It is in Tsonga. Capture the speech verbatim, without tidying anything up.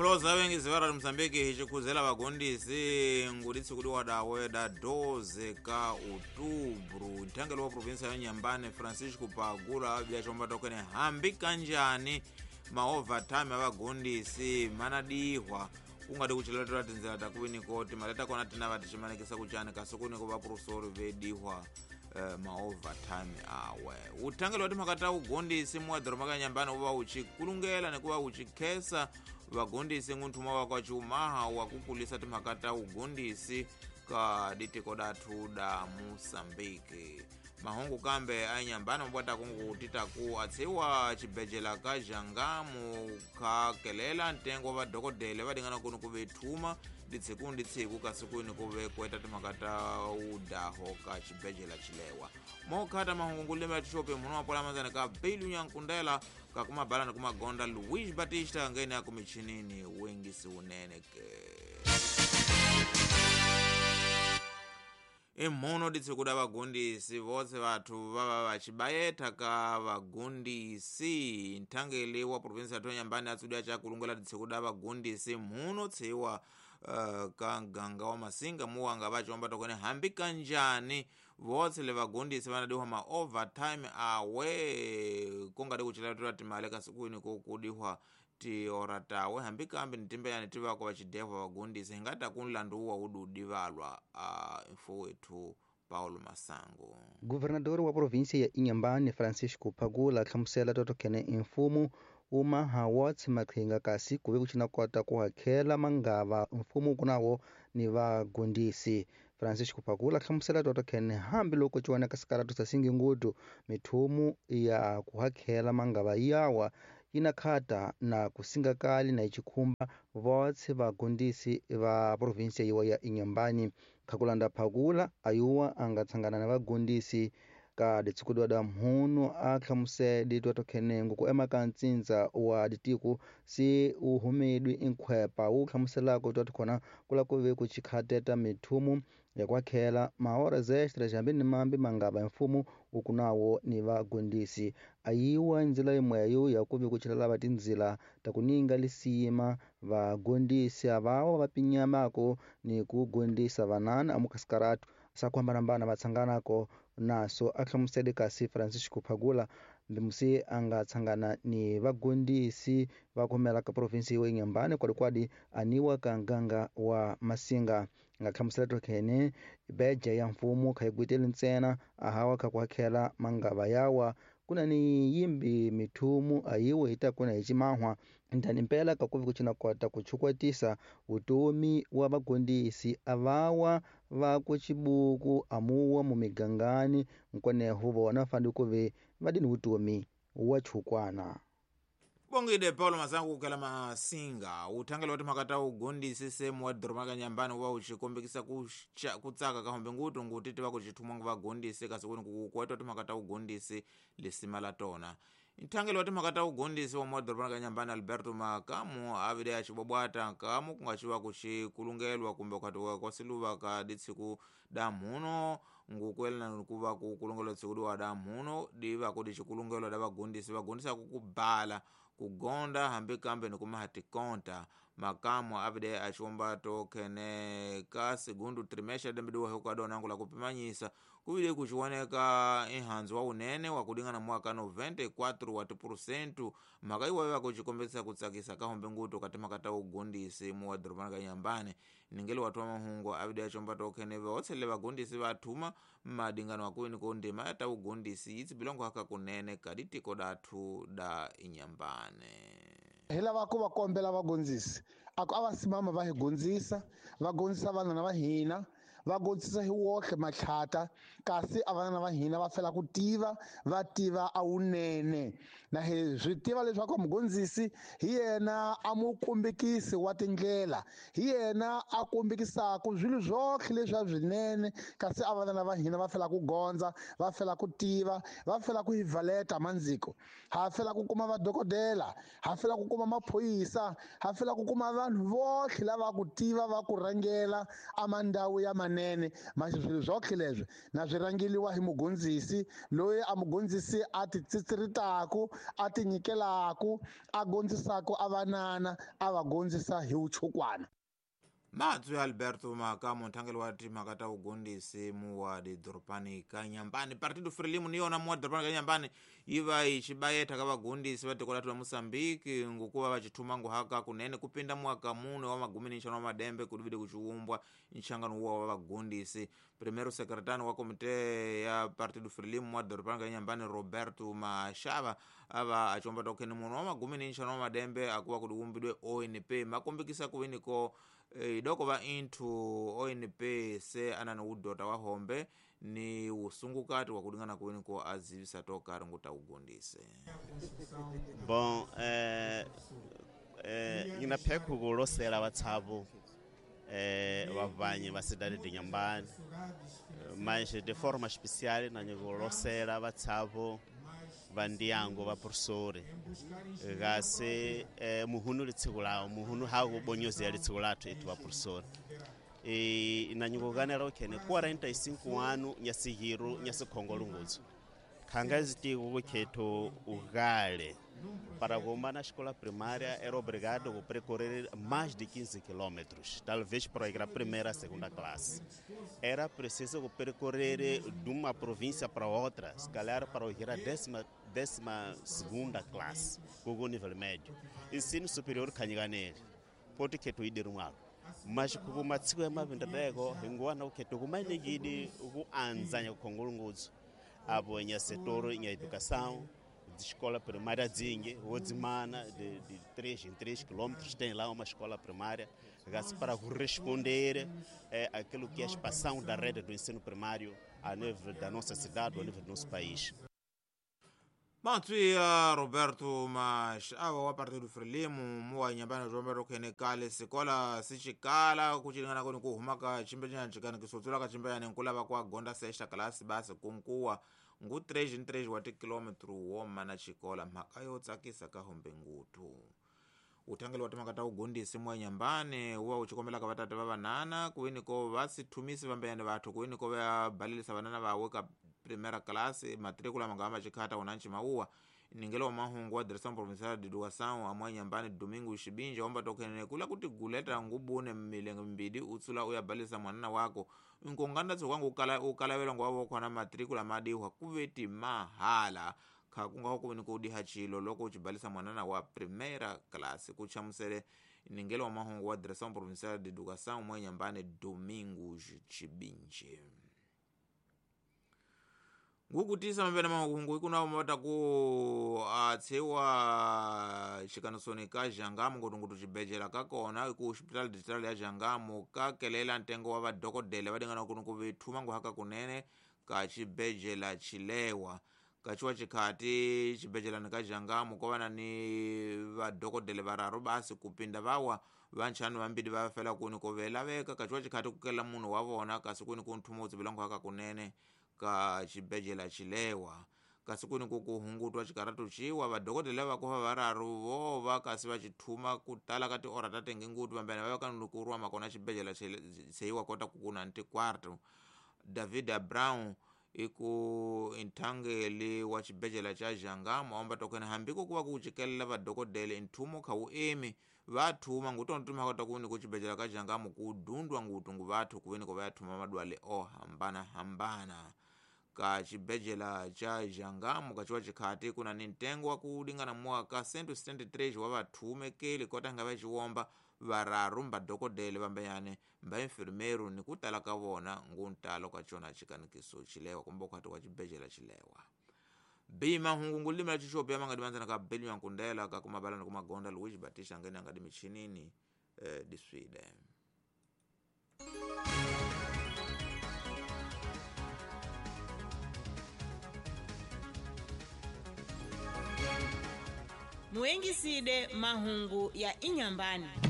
Muloza wengi zivara Mozambique hichikhuzela vagondisi nguditsi kudi wadawe da doze ka outubro nthangelo wa provinsia ya Inhambane Francisco Pagula byachomba tokene hambi kanjani ma overtime avagondisi manadihwa kungadi kuchilatela tinzela takuwiniko maleta kona tina vatichimanekisa kuchani kasi kuniko vaprofesori vedihwa Uh, ma overtime awe uthangelo wa timhaka ta ugondisi muwadhoroma ka Inhambane uva uchikulungela nikuva uchikhesa vagondisi ng'unthuma wa kwa chiumaha wa kukulisa timhaka ta ugondisi ka ditiko dathu da Moçambique. Mahungu kambe a Inhambane mabwata kungu titaku atsiwa chibhejela ka Jangamu khakelela ntengo wa vadokodele va dingana kunu ku vethuma ditsiku nditsiku kasi kwini ku ve kueta timhaka ta udaho ka chibhejela chilewa mokhata mahungu ngulime ya tixope munhu wa pola manzana ka Beilu Nyankundela ka kumabala ni kumagonda Luis Batista ngene ya kumichinini wengisi unene ke imhono ditsikuda vagondisi votse vathu vava vachibayetha ka vagondisi nthangeli wa provinsi ya Inhambane atsudi achakulungela ditsikuda vagondisi mhuno tsiwa uh, ka nganga wa Masinga muwanga vachomba tokone hambi kanjani votse le vagondisi vanadiwa ma overtime awe kungadi kuchilatula timali kasi kwini kukudiwa tiora tawe hambi kambi nitimbeyani tivako vachidehwa vagondisi hingata kunlanduwa ududi valwa uh, mfo wethu Paulo Masango. Governador wa província ya Inhambane Francisco Pagula hlamusela totokene imfumo uma hawats maqhinga kasi kuve kuchina kota ku hakhela mangava mfumo kunawo ni vagondisi. Francisco Pagula hlamusela totokene hambi loko ciwaneka sikaratu sa singingudu mithumu ya ku hakhela mangava yawa yina khata na kusinga kali na ichikhumba votse vagondisi va província yiwa ya Inhambane. Khakulanda Phakula ayuwa angatsangana na vagondisi ka ditsikudwa da mhunu a hlamusele ditwa tokhenengo ku emaka ntsindza wa ditiko si uhumedwi inkhwepa wu hlamuselako twa tikhona kula ku ve ku chikhateta mithumu ya kwakhela mahoras extras hambi ni mambi mangava mfumo ukunawo ni vagondisi ayiwa ndzila yimweyo ya kuve ku chilalava tindzila ta kuninga lisima vagondisi avawa va pinyamako ni ku gondisa vanana amukasikaratu sakuhambanahambana va tsanganako naso a hlamusele kasi Francisco Phagula mbimusi a nga tsangana ni vagondisi va khomela ka provinsi ya Inhambane kwalikwadi aniwa ka nganga wa Masinga nga hlamusela tokhene beja ya mfumo kha yi ntsena ahawa kha ku hakhela mangava yawa kuna ni yimbi mithumu ayiwe ita kuna hi chimahwa ndani mpela ka kuvi kuchina kota kuchukwatisa utomi wa vagondisi avawa va ku chibuku amuwa mumigangani nkwaneho vona fandi kuve vadini utomi wa chukwana. Bongide Paulo Masango kukela Masinga uthangela wati makata ugondisi semu wa dhoroma ka Inhambane wa uchikombekisa kutsaka kahombe ngutu ngutiti vakuchithumwa nga vagondisi kasi kuni kukukweta wati makata ugondisi lisima la tona. Nthangelo wati makata ugondisi wa mwadhoroma ka Inhambane Alberto Makamu avide achibwabwata kamu kungachiwa kuchikulungelwa kumbe ukhati kwasiluva ka ditsiku da mhuno ngukwelana kuva kukulungelwa tsiku diwa da mhuno diva kuti chikulungelwa da vagondisi vagondisi akukubala kugonda hambi kambe nikumaha tikonta. Makamu avide achiomba tokhene ka segundo trimestre dembe diwa hukadona la kupimanyisa kuvile kuchiwoneka inhanzu wa unene wa kudingana mwaka noventa e quatro wa tipurusentu mhaka iwayo vakuchikombesa kutsakisa kahombe ngutu kati makata ugondisi mu wadhorobani ka Inhambane ningeli watu wa mahungu avide achiomba tokhene vaotsele vagondisi vathuma madingano akuwini kondima yata ugondisi itsi bilongo haka kunene kaditiko dathu da Inhambane. Hi lava ku va kombela vagondzisi a ku a va simama va hi gondzisa va gondzisa vanana va hina va gondzisa hi wohle matlhata kasi a vanana va hina va fela ku tiva va tiva a wunene na hi swi tiva leswaku mugondzisi hi yena a mu kombekisi wa tindlela hi yena a kombekisaka swilo swohle leswi a swinene kasi a vanana va hina va fela ku gondza va fela ku tiva va fela ku hi valeta mandziko ha fela ku kuma vadokodela ha fela ku kuma maphoyisa ha fela ku kuma vanhu vohle lava ku tiva va ku rhangela a mandhawu ya manene manje swilo zwoke leswi na swi rangeliwa hi mugondzisi loyi a mugondzisi a ti tsitsiritaku a ti nyikelaku a gondzisaku a vanana a va gondzisa hi vuchukwana. Matswi Alberto Makamu nthangelo wa timhaka ta vugondisi muwa didorobani ka Nyambani. Partido Frelimo ni yona muwa didorobani ka Nyambani yi va yi xibayetha ka vagondisi va tiko lathu la Mozambique ngokuva va xithuma nguhaka kunene kupinda mwaka mune wa magumi ni nxanu wa madembe kudivide kuxiwumbwa nxangano wuwa wa vagondisi. Primeiro secretary wa komite ya Partido Frelimo muwa didorobani ka Nyambani Roberto Mashava ava achomba tokheni munhu wa magumi ni nxanu wa madembe akuva kudiwumbidwe O N P makombekisa kuviniko idoko va inthu O N P se anani wudota wa hombe ni wusungukati wa kulingana kuweni ko azivisa tokari nguta ugondise. Bom, eh eh nginaphekho kulosela vatshavu eh vavanyi va cidade de Inhambane, mas de forma especial na nyikulosela vatshavu va ndyangu va professori kasi eh, muhunu litsiko lawo muhunu haku bonyozela litsiko lathu ethu va professori e na nyikukanela ukhene quarenta e cinco ano nyasihiru nyasikhongolungutso khanga zitiko kukhetho ukale para kumba na escola primária era obrigado a percorrer mais de quinze quilômetros, talvez para ir à primeira, segunda classe. Era preciso percorrer de uma província para outra, se calhar para ir à décima, décima segunda classe, com o nível médio. Ensino superior kanyiganele, pode que tu ide rumalo. Mas como matsiko ya mavindadeko, ingwana ukhetho kumanegidi ukuanzanya kukhongolungutso abo nya setor nya educação de escola primária Zingue, Odzimana, de, de três em três quilômetros, tem lá uma escola primária para corresponder é, àquilo que é a expansão da rede do ensino primário a nível da nossa cidade, a nível do nosso país. Matswi ya Roberto Mashava wa Partido Frelimo muwa Inhambane Roberto khene kale sikola sixikala kuchilingana koni ku huma ka chimbejana chikani kisotsula ka chimbejana nkulava kwa gonda sexta class basi kunkuwa ngu três em três wa tikilômetro woma na xikola mhaka yo tsakisa ka hombe ngutu. Uthangelo wa timhaka ta ugondisi muwa Inhambane wa u xikombelaka vatata va vanana kuwini ko va sithumisi vambeyani vathu kuwini ko va balelisa vanana vawe ka primeira classe matrícula mangama xikhata wona ncimauwa ningelo wa mahungu wa direção provincial de educação amwa Inhambane Domingo Xibinja wamba tokhenene kula kuti guleta ngubune milenge mbidi utsula uyabalisa mwanana wako nkonganda tsokangu ukala ukalawela ngwa khona matrícula madihwa kuveti mahala kha kunga kuveni ko diha chilo loko uchibalisa mwanana wa primeira classe kuchamusele ningelo wa mahungu wa direção provincial de educação mwa Inhambane Domingo Xibinja. Ngukutisa mapena mahungu ikuna mata ku atsewa xikanisoni ka Jangamo ngutungutu xibedhlele ka kona ku hospital digital ya Jangamo ka kelela ntengo wa vadokodela va dingana ku ku vithuma nguhaka kunene ka xibedhlele xilewa ka xiwa xikhati xibedhlelani ka Jangamo ko va na ni vadokodela vararu basi kupinda vawa vanxanu vambili va fela kuni ko velaveka ka xiwa xikhati ku kelela munhu wa vona kasi kuni ku nthumo wu tsivela nguhaka kunene ka xibedhlele xilewa kasi kuni ku ku hungutwa xikaratu xiwa vadokodela va kuva vararu vo va kasi va xithuma ku tala ka tiora ta tengengutu vambene va va ka ku rwa makona xibedhlele seyiwa kota ku kuna ntikwarto. David Brown iku nthangeli wa xibedhlele xa Jangamo amba tokene hambi ko kuva ku cikelela vadokodela nthumo kha wu emi va thuma ngutono timhaka ta kuni ku xibedhlele ka Jangamo ku dundwa ngutu ngu vathu kuveni ko va ya thuma madwale o hambana hambana ka xibedhlele xa Jangamo ka xiwa xikhati kuna ni ntengo wa ku lingana mwaka cento setenta e três wa vathumekeli kota nga va xiwomba vararu mbadokodele vambeyane mba enfermeiro ni ku tala ka vona nguntalo ka xona xikanikiso xilewa kumbe ukhati wa xibedhlele xilewa. B mahungu ngulimi la xixopi ya mangadimandzana ka Beliwa Nkundela ka kumabalana kumagonda Luigi Batista ngene angadi michinini eh, diswide. Muengiside mahungu ya Inhambane.